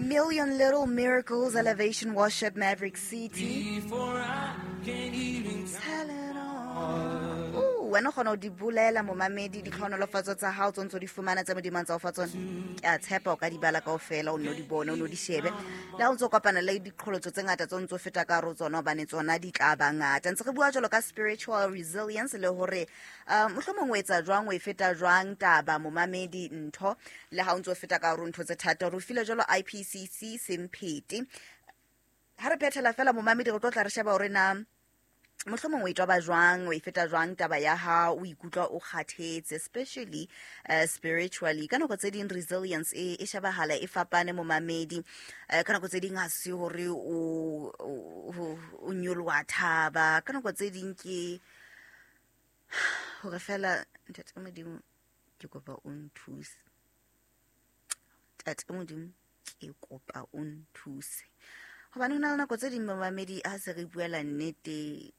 Million Little Miracles, Elevation Worship, Maverick City. Tell it all. Ooh, wena o kgona ho di bolela, momamedi, ditlhohonolofatso tsa hao tse ntse o di fumana tse Modimo a ntse a o fa tsona. Ke a tshepa o ka di bala kaofela, o nne o di bone, o nne o di shebe. Le ha o ntse o kopana le diqholotso tse ngata tse o ntse o feta ka hare ho tsona, hobane tsona di tla ba ngata. Ntse re bua jwalo ka spiritual resilience le hore mohlomong o etsa jwang, o e feta jwang taba, momamedi, ntho le ha o ntse o feta ka hare ho ntho tse thata. Re o file jwalo IPCC semphete. Ha re phethela fela, momamedi, re tlo tla re sheba hore na mohlomong o e toba jwang, o e feta jwang taba ya ha o ikutlwa o kgathetse, especially spiritually. Ka nako tse ding resilience e shebahala e fapane, momamedi. Ka nako tse ding ha se hore o nyoloha thaba, ka nako tse ding ke hore fela, ntate Modimo, ke kopa o nthuse, tate Modimo, ke kopa o nthuse, hobane ho na le nako tse ding, momamedi, ha se re buela nnete,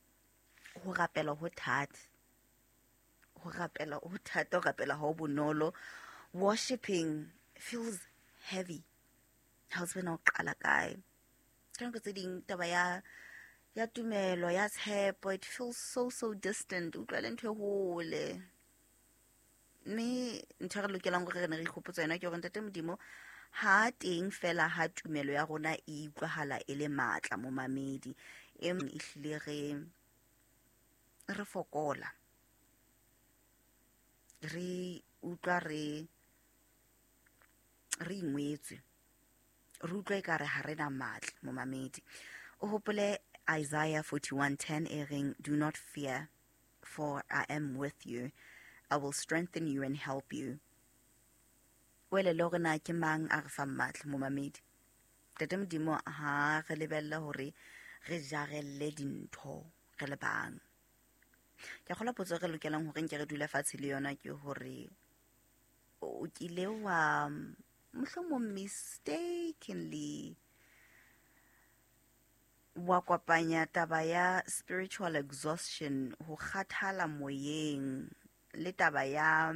ho rapela ho thata, ho rapela ho thata, ho rapela ha ho bonolo. Worshiping feels heavy, ha o tsebe na o qala kae. Ka nako tse ding taba ya tumelo, ya tshepo, it feels so so distant, utlwa le ntho e hole. Mme ntho e re lokelang hore re ne re ikgopotsa yona ke hore ntate Modimo ha teng fela ha tumelo ya rona e utlwahala e le matla, momamedi, e ehlile re fokola, re utlwa re ingwetswe, re utlwa ekare ha re na matla. Momamedi, o hopole Isaiah 41:10 e reng, "Do not fear, for I am with you. I will strengthen you and help you." O elele hore na ke mang a re fang matla, momamedi. Tate Modimo ha re lebella hore re jarelle dintho re le bang. Ke kgolwa potso e re lokelang hore nke re dule fatshe le yona ke hore o kile wa mohlomong mistakenly wa kopanya taba ya spiritual exhaustion, ho kgathala moyeng, le taba ya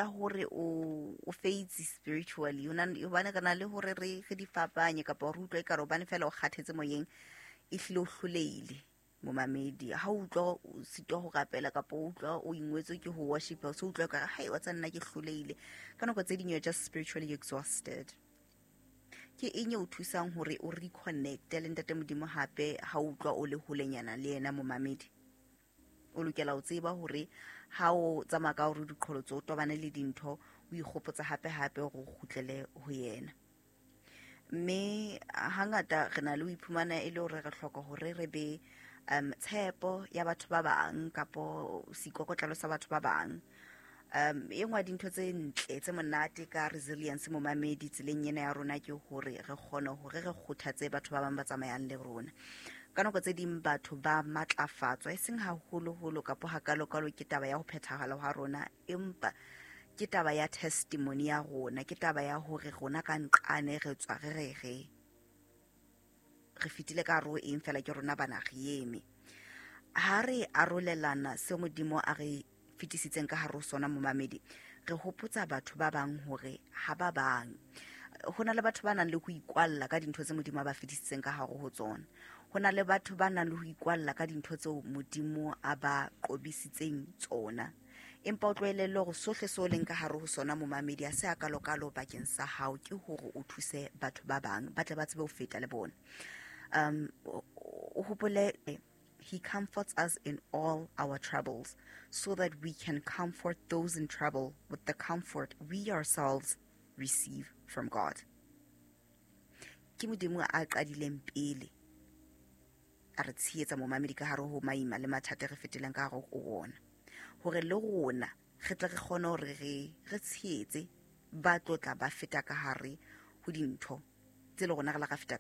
hore o feitse spiritually. Hobane re na le hore re di fapanye, kapa re utlwe ekare hobane fela o kgathetse moyeng, ehlile o hlolehile. Momamedi, ha o utlwa o sitwa ho rapela kapa o utlwa o ingwetswe ke ho worship, o se utlwa ekare, hai, wa tsa nna ke hlolehile, ka nako tse ding you're just spiritually exhausted. Ke eng e o thusang hore o reconnecte le ntate Modimo hape ha o utlwa o le holenyana le yena? Momamedi, o lokela ho tseba hore ha o tsamaya ka hore diqholotso, o tobane le dintho, o ikgopotsa hape hape hore o kgutlele ho yena. Mme hangata re na le ho iphumana e le hore re hloka hore re be tshepo ya batho ba bang kapo seikokotlelo sa batho ba bang. E nngwe ya dintho tse ntle tse monate ka resilience, momamedi, tseleng ena ya rona ke hore re kgone hore re kgothatse batho ba bang ba tsamayang le rona. Ka nako tse ding batho ba matlafatswa e seng haholoholo kapo hakalokalo ke taba ya ho phethahala ha rona, empa ke taba ya testimony ya rona, ke taba ya hore rona ka nqane re tswa re fetile ka hare ho eng, fela ke rona bana re eme. Ha re arolelana seo Modimo a re fetisitseng ka hare ho sona, momamedi, re hopotsa batho ba bang hore ha ba bang. Ho na le batho ba nang le ho ikwalla ka dintho tse Modimo a ba fetisitseng ka hare ho tsona. Ho na le batho ba nang le ho ikwalla ka dintho tseo Modimo a ba qobisitseng tsona. Empa o tlohellele hore sohle seo leng ka hare ho sona, momamedi, a se a kalokalo bakeng sa hao, ke hore o thuse batho ba bang ba tle ba tsebe ho feta le bona. O hopole, he comforts us in all our troubles, so that we can comfort those in trouble with the comfort we ourselves receive from God. Ke Modimo a qadileng pele a re tshehetsa, momamedi, ka hare ho maima le mathata re feteleng ka hare ho ona, hore le rona re tle re kgone hore re tshehetse ba tlotla ba feta ka hare ho dintho tse le rona re la ra feta.